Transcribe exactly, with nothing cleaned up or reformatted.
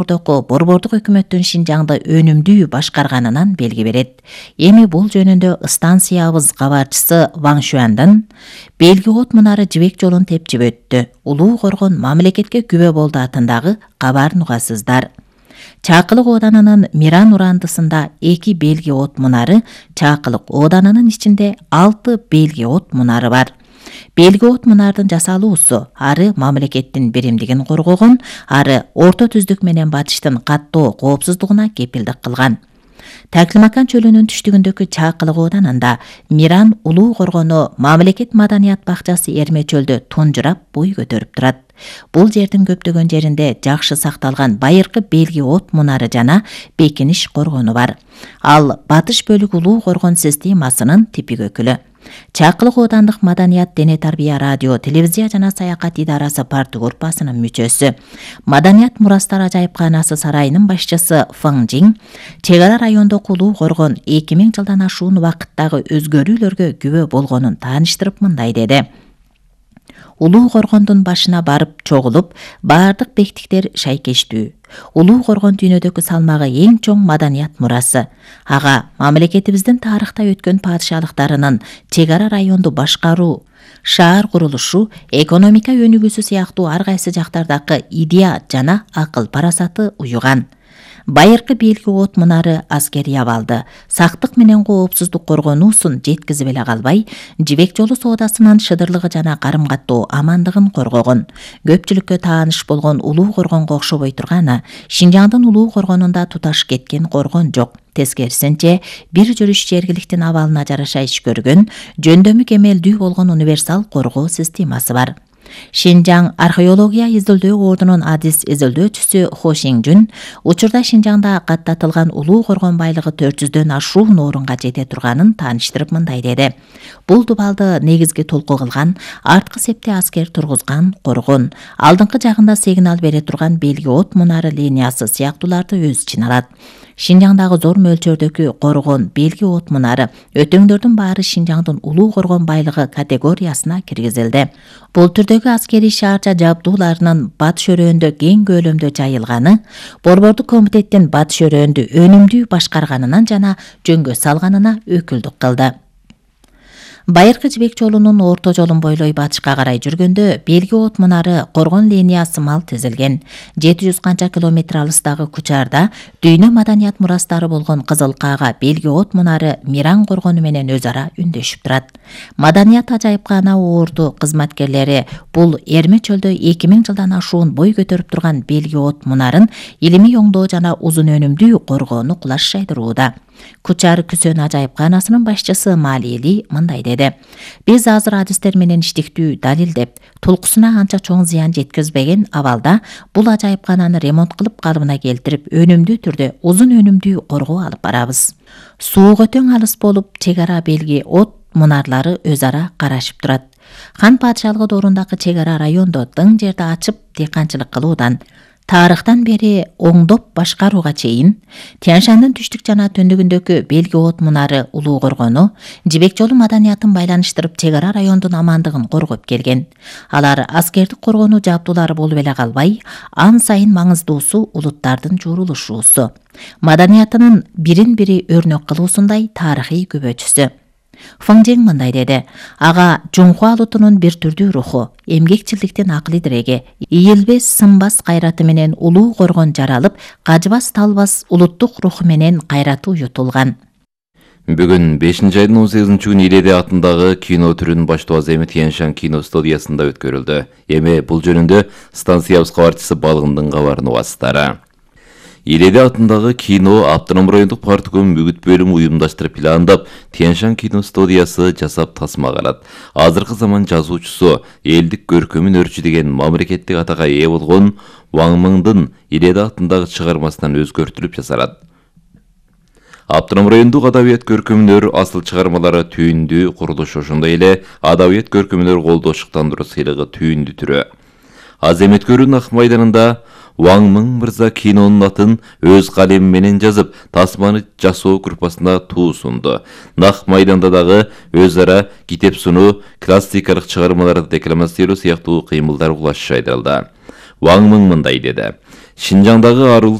Ордоку борбордук өкмөттүн Шинжаңды өнүмдүү башкарганынан белги берет. Эми бул жөнүндө станциябыз кабарчысы Ван Шуандын Белги от мунары жибек жолун тепчип өттү. Улуу Коргон мамлекетке күбө болду атындагы кабарын угасыздар. Чакылык Оданынын Миран урандысында эки Белги от мунары, Чакылык Оданынын ичинде алты Белги от мунары бар. Белги от мунардын жасалуусу ары мамлекеттин биримдигин коргогон, ары орто түздүк менен батыштын каттоо коопсуздугуна кепилдик кылган. Таклимакан чөлүнүн түштүгүндөгү Чакылык Оданында Миран Улуу Коргону мамлекет маданият бакчасы Эрме чөлдө тунжурап бой көтөрүп турат. Бул жердин көптөгөн жеринде жакшы сакталган байыркы Белги от мунары жана бекиниш коргону бар. Ал батыш бөлүк Улуу Коргон системасынын типик өкүлү. Чакылык Оодандык маданият, дене тарбия, радио, телевизия жана саякат идарасы парты группасынын мүчөсү. Маданият мурастар ажайыпканасы сарайынын башчысы Фың Жин чек ара райондогу Улуу Коргон эки миң жылдан ашуун убакыттагы өзгөрүүлөргө күбө болгонун тааныштырып мындай деди. Улуу Коргондун башына барып чогулуп, баардык бектиктер шайкештүү. Улуу Коргон дүйнөдөгү салмагы эң чоң маданият мурасы. Ага мамлекетибиздин тарыхта өткөн падышалыктарынын чек ара районду башкаруу, шаар курулушу, экономика өнүгүүсү сыяктуу ар кайсы жактардагы идея жана акыл парасаты уюган. Байыркы Белги от мунары аскерий абалды, сактык менен коопсуздук коргонуусун жеткизип эле калбай, жибек жолу соодасынын шыдырлыгы жана карым-каттоо амандыгын коргогон. Көпчүлүккө тааныш болгон Улуу Коргонго окшобой турганы, Шинжаңдын Улуу Коргонунда туташ кеткен коргон жок. Тескерисинче, бир жүрүш жергиликтин абалына жараша иш көргөн, жөндөмү кемелдүү болгон универсал коргоо системасы бар. Шинжаң археология изилдөө ордунун адис изилдөөчүсү Хо Шинжүн учурда Шинжаңда каттатылган Улуу Коргон байлыгы төрт жүздөн ашуун орунга жете турганын тааныштырып мындай деди. Бул дубалды негизги толку кылган, арткы септе аскер тургузган коргон, алдыңкы жагында сигнал бере турган Белги от мунары линиясы сыяктууларды өз ичине алат. Шинжаңдагы зор мөлчөрдөгү коргон Белги от мунары өтөңдөрдүн баары Шинжаңдын Улуу Коргон байлыгы категориясына киргизилди. Бул түрдөгү аскерий шаарча жабдууларынын батыш өрөөндө кең көлөмдө жайылганы, борбордук комитеттин батыш өрөөндү өнүмдүү башкарганынан жана жөнгө салганына өкүлдүк кылды. Байыркы жибек жолунун орто жолун бойлой батышка карай жүргөндө Белги от мунары коргон линиясы мал тизилген. жети жүз канча километр алыстагы Кучарда дүйнө маданият мурастары болгон Кызыл Каага Белги от мунары Миран коргону менен өз ара үндөшүп турат. Маданият ажайыпкана орду кызматкерлери бул Эрме чөлдө эки миң жылдан ашуун бой көтөрүп турган Белги от мунарын илимий оңдоо жана узун өнүмдүү коргоону кулаш жайдырууда. Кучар күсөн ажайыпканасынын башчысы Малили мындай деди. Биз азыр адистер менен иштиктүү далилдеп, толкусуна анча чоң зыян жеткизбеген абалда бул ажайыпкананы ремонт кылып калыбына келтирип, өнүмдүү түрдө узун өнүмдүү коргоо алып барабыз. Сууга өтөң алыс болуп, чек ара Белги от мунарлары өз ара карашып турат. Хан падышалыгы доорундагы чек ара райондо дың жерди ачып дыйканчылык кылуудан тарыхтан бери оңдоп башкарууга чейин Тянь-Шандын түштүк жана түндүгүндөгү Белги от мунары Улуу Коргону жибек жолу маданиятын байланыштырып чек ара райондун амандыгын коргоп келген. Алар аскердик коргонуу жабдуулары болуп эле калбай, ан сайын маңыздуусу улуттардын журулушуусу, маданиятынын бирин-бири өрнөк кылуусундай тарыхый күбөчүсү. Фың Жин мындай деди. Ага Жунхуа улутунун бир түрдүү руху, эмгекчилдиктин акылый диреги, ийилбес сынбас кайраты менен Улуу Коргон жаралып, кажыбас талбас улуттук руху менен кайраты уютулган. Бүгүн бешинчи айдын он сегизинчи күнү Иледе атындагы кино түрүнүн баштоо аземи Тянь-Шань кино студиясында өткөрүлдү. Эми бул жөнүндө станциябыз кабарчысы Балгындын кабарын угасыздары. Иледе атындагы кино автоном райондук партком мүгүт бөлүмү уюмдаштырып пландап, Тянь-Шань кино студиясы жасап тасмагалат. Азыркы заман жазуучусу, элдик көркөмүн өрчү деген мамлекеттик атага ээ болгон Ван Мыңдын Иледе атындагы чыгармасынан өзгөртүлүп жасалат. Автоном райондук адабият көркөмүнөр асыл чыгармалары түйүндү курулуш, ошондой эле адабият көркөмүнөр колдоо шыктандыруу сыйлыгы түйүндү түрү. Аземет-көрүү Ак майданында Ван Мың мырза кинонун атын өз калеми менен жазып, тасманы жасоо группасына туусунду. Ак майданда дагы өз ара китеп сунуу, классикалык чыгармаларды декламациялоо сыяктуу кыймылдар кулаш жайдырылды. Ван Мың мындай деди. Шинжаңдагы арыл